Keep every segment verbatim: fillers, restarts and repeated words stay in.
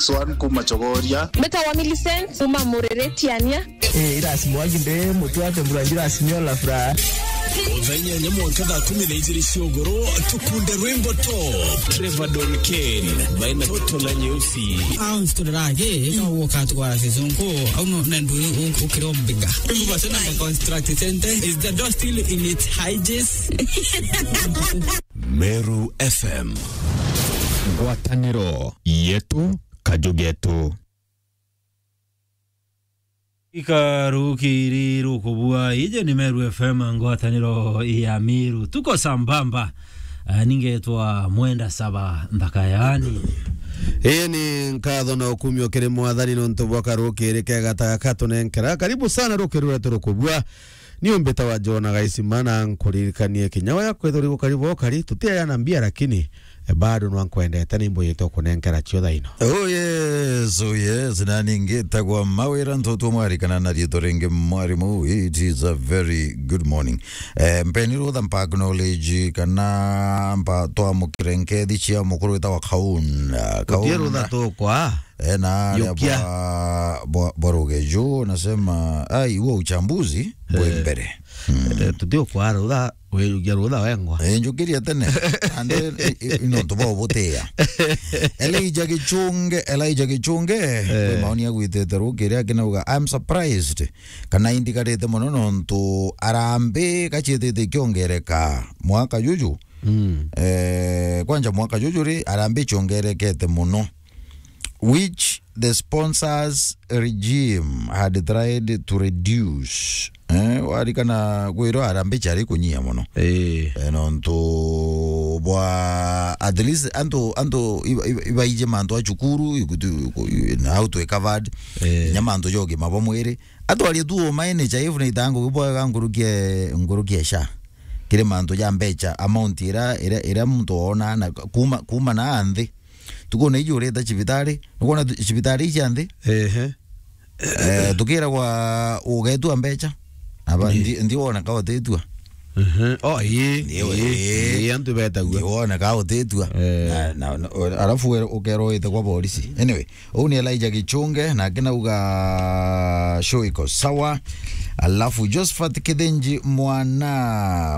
Swan kuma Chogoria. Mbetawa Millicent kuma Murere Tiania. Eh, irasi mwangi nde mutu ate mbura njira simio la furaha. Thaa inyanya mwanka thaa kumi na ijiri cia ugoro, tukunde rwimbo top. Trevor Don Kane, baina Toto la Nyeusi. Au nsiturira agi, no woka twara season ko, au no nendu ukiro mbiga. Rwimbo basi na construct center, is the door still in its hinges? Meru F M. Ngwataniro yetu, kaju getu. Ikarukiri rukubua, ije ni Meru F M, ngwataniro ya Miru. Tuko sambamba. Ah, ningetwa Mwenda Saba Nthaka yani. Ii ni nkatho na ukumio kiri Mwathani nontu bwa karukiri kega ta gaka tunenkera. Karibu sana rukiri rwetu rukubua. Ni umbita wa Jona Gaisima na nkuririkanie kinya waya kwithuri gukari bwa ukari, tutiayana mbia lakini, eh, bado nwa nkwendete ni mbuyite ukunenkera cio thaino. Oh yes, oh yes, na ningi tagwa mawira ntutu mwarikana na riitwa ringi mwarimu, it is a very good morning. Eh, mpeni rutha mpa acknowledge kana mpa twamukire nkethi cia mukuru witagwa Kaunda. Utie rutha Kaunda. Tukwa. Eh, na aria Yukia. Bwa, bwa, bwa Rugeju, nasema, ai, huo uchambuzi, bwe Eh. Mbere. Mm. Eh, tuti ukwara rutha, wirugia rutha wengwa. Eh, njukiria tene. Ande, i, i, i, nontu bwa ubutia. Elijah Gichunge, Elijah Gichunge, Eh. Kwi maoni agwitite rukiri akinauga, "I'm surprised." Kana indigarite mono nontu arambi gaciitite ikiongereka mwaka juju. Mm. Eh, kwanja mwaka juju ri, arambi ciongerekete mono. Which the sponsors regime had tried to reduce. Eh, warikana kwirwa arambi ciari kunyia mono. Eh. Eh, nontu bwa at least antu, antu iba-, iba-, ibaije mantu a cukuru, ikutu-, iku-, na how to recovered. Eh. Nya mantu ja ugima bwa mwiri. Atwarie tu umaene cha ifu ni itangu bwega nkurukie, nkurukie sha. Kiri mantu ja mbecha, amount ira, ira, ira muntu oona na kuma, kuma na nthi. Tukona iji urita cibitari, nukwona tu-, cibitari iji nthi? Ehe. Eh, tukiragwa ugetua mbecha. Aba, Ii. Ndi, ndi wona ka utitua. Mhm. Oh, ii, Ndio, ii, ii. Ii, antu betagua. Ndi wona ka utitua. Eh. Na, na, na, alafu we ukerwa wite kwa polisi. Anyway, uu ni Elijah Gichunge, na akinauga show iko sawa. Alafu Josephat Kithinji mwana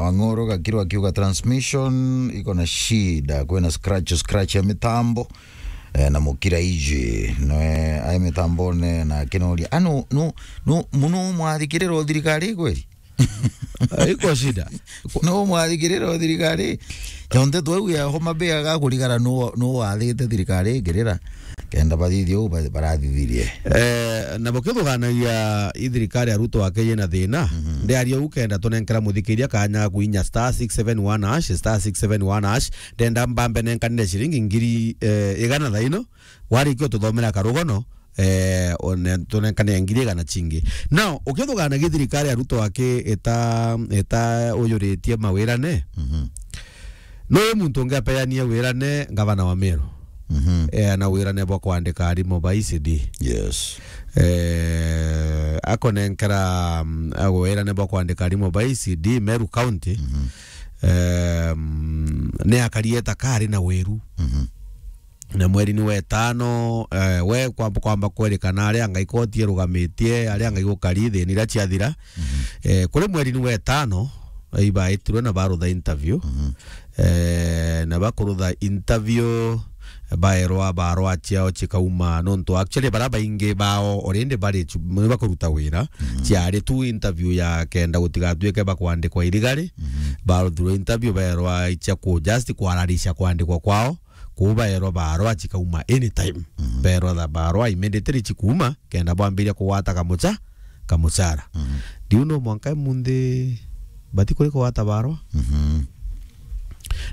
wa Ng'oro Gakiro akiuga transmission iko na shida, kwina scratch, scratch ya mitambo. Eh, na mukira iji, noe, ai mitambone na akinoria, "Ah, nu, nu, nu, muno mwathikirira o thirikari kweli?" Iko shida. No mwathikirira o thirikari? Jonte twauge Homa Bay agakurigara nu, nu wathite thirikari ikirira, kenda bathithie uu ba-, barathithirie. Eh, na bukithuganagia i thirikari ya Ruto ake yina thina, Mhm. ndiaria uu kenda tunenkera muthikiria kanya kuinya star six seven one hash, star six seven one hash, ndenda mbambe nenkanire ciringi ngiri, eh, igana thaino, warikia ututhomera karugono, eh, one-, tunenkanire ngiri igana cingi. Now, ukithuganagia thirikari ya Ruto aki ita, ita uyuritie mawirane, Mhm. no uyu muntu ungi apeanie wirane ngavana wa Meru. Mhm. Eh, na wirane bwa kwandika arimo ba E C D. Yes. Eh, akonenkera, mm, wirane bwa kwandika arimo ba E C D Meru County. Mhm. Eh, mm, ni akarieta kari na wiru. Mhm. Na mweri ni wetano, eh, we kwamba, kwamba kwerikana aria ngai koti irugamitie, aria ngai gukari thini iria ciathira. Mhm. Eh, kuri mweri ni wetano, ibaitirwe na barutha interview. Mhm. Eh, na bakurutha interview, baerwa barwa ciao cikauma, nontu actually bara baingi bao already bari chu-, ni bakuruta wira. Mhm. Ciari tu interview ya kenda gutigatuike bakwandikwa irigari. Mhm. Baruthirwe interview, baerwa icia ku just kwararisha kwandikwa kwao. Kuu baerwa barwa cikauma anytime. Mhm. Baerwa tha barwa immediately cikuuma, kenda bwambiria kugwata kamucha-, kamuchara. Mhm. Ndiu no mwanka imunthi bati kuri kugwata barwa. Mhm.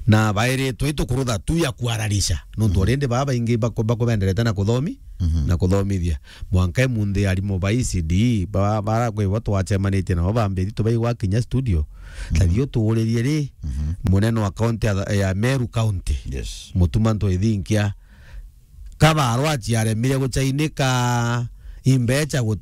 Na bairitwe itukurutha tu ya kwararisha. Nontu Mhm. already baa baingi baku-, bakubenderete na kuthomi-, Mhm. na kuthomithia. Mwanka imunthi arimu ba E C D, ba-, bara kwi bo twacemanitie nabo bambiri tubaigwa kinya studio. Mhm. Tathio tuuririe ri, Mhm. munene wa county ya, ya Meru County. Yes. Mutuma Ntwithinkia. Kabarwa ciaremire gucainika imbecha gutari